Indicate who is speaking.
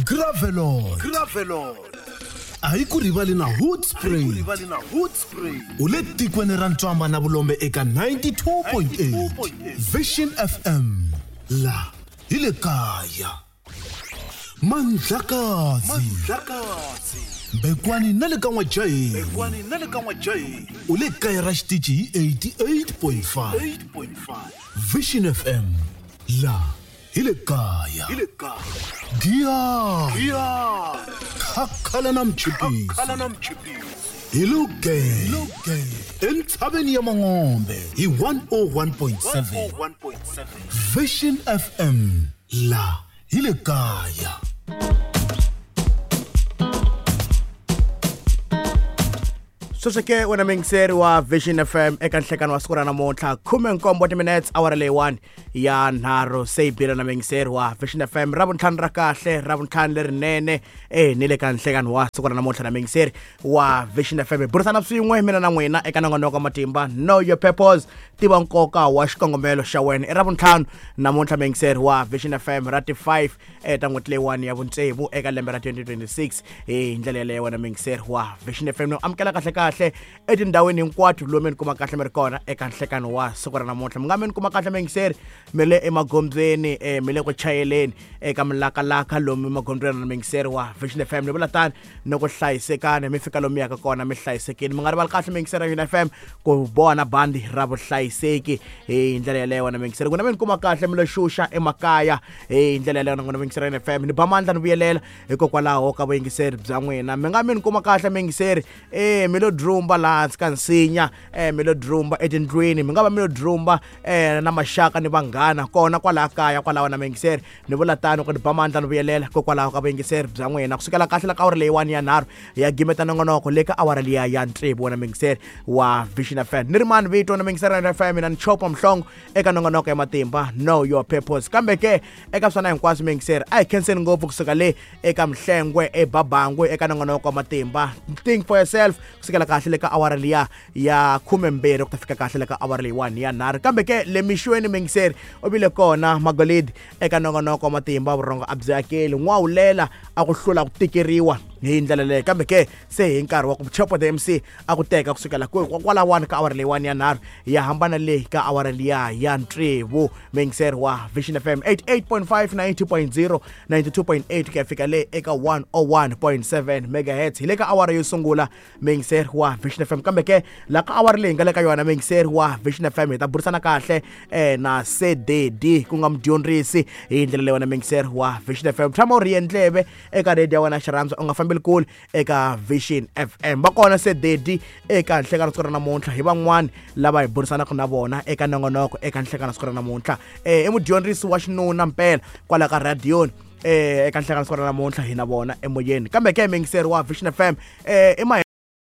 Speaker 1: Gravelot. A hi ku rivali na Hoedspruit. U le tikweni ra ntswamba na vulombe eka 92.8 Vision FM. La hi le kaya. Mandlakazi. Mbekwani na le ka N'wajaheni. U le kaya ra xitichi hi 88.5. Vision FM. La hi le kaya. Giya. Khakhala na mchipisi. Hi luge. Entshaveni ya Mangombe hi 101.7. Vision FM. La hi le kaya.
Speaker 2: Sweswo ke wena muyingiseri wa Vision FM eka nhlekani wa siku ra namuntlha 17 timinutes awara leyiwani ya nharhu se yi bile na muyingiseri wa Vision FM ra vuntlhanu ra kahle ra vuntlhanu lerinene ni le ka nhlekani wa siku ra namuntlha na muyingiseri wa Vision FM hi burisana swin'we mina na n'wina eka nongonoko wa matimba Know Your Purpose, tiva nkoka wa xikongomelo xa wena. I ra vuntlhanu namuntlha muyingiseri wa Vision FM ra ti 5 ta n'hweti leyiwani ya vutsevu eka lembe ra 2026 hi ndlela yeleyo wena muyingiseri wa Vision FM no amukela kahle kahle etindhawini hinkwato lomu mi kuma kahle mi ri kona eka nhlekano wa siku ra namuntlha. Mi nga mi ni kuma kahle muyingiseri mi le emagondzweni, mi le ku chayeleni eka milakalaka lomu emagondzweni na muyingiseri wa Vision FM ni vula tani ni ku hlayisekani mi fika lomu yaka kona mi hlayisekile. Mi nga rivali kahle muyingiseri wa Vision FM ku boha na bandi ra vuhlayiseki hi ndlela yeleyo wena muyingiseri. N'wina mi ni kuma kahle mi lo xuxa emakaya hi ndlela yeleyo n'wina muyingiseri wa Vision FM ni ba mandla ni vuyelela hikokwalaho ka vuyingiseri bya n'wina. Mi nga mi ni kuma kahle muyingiseri mi lo drumba laha hansi ka nsinya, mi lo drumba etindlwini, mi nga va mi lo drumba na maxaka ni vanghana kona kwalaha kaya kwalaho na muyingiseri ni vula tano ku ni ba mandla ni vuyelela hikokwalaho ka vuyingiseri bya n'wina. Kusukela kahle la ka awara leyiwani ya nharhu ya gimeta nongonoko le ka awara liya ya tsevu wena muyingiseri wa Vision FM. Ni ri mani vito na muyingiseri wa FM mina ni Chopa Mhlongo eka nongonoko ya matimba Know Your Purpose. Kambe ke eka swona hinkwaswo muyingiseri a hi khenseni ngopfu kusuka le eka Mhlengwe eBabangwe eka nongonoko wa matimba Think for Yourself kusukela kahle le ka awara liya ya 12 ku ta fika kahle le ka awara leyiwani ya nharhu. Kambe ke le mixweni muyingiseri u vile kona Magolidi eka nongonoko wa matimba vurhongo a byi akeli n'wawulela a ku hlula ku tikeriwa hi ndlela leyo. Kambe ke se hi nkarhi wa ku Chopo the MC a ku teka kusukela kwalawani ka awara leyiwani ya nharhu ya hambana le ka awara liya ya tsevu muyingiseri wa Vision FM 88.5 90.0 92.8 ku ya fika le eka 101.7 megahertz hi le ka awara yo sungula muyingiseri wa Vision FM. Kambe ke la ka awara leyi nga le ka yona muyingiseri wa Vision FM hi ta burisana kahle na CDD ku nga mudyondzisi hi ndlela leyi wena muyingiseri wa Vision FM. Tshama u rhiye ndleve eka radio ya wena xirhandza u nga fambeli kule eka Vision FM. Va kona CDD eka nhlekano siku ra namuntlha hi van'wani lava hi burisanaka na vona eka nongonoko eka nhlekano siku ra namuntlha. I mudyondzisi wa xinuna mpela kwala ka radioni eka nhlekano siku ra namuntlha hi na vona emoyeni. Kambe ke muyingiseri wa Vision FM i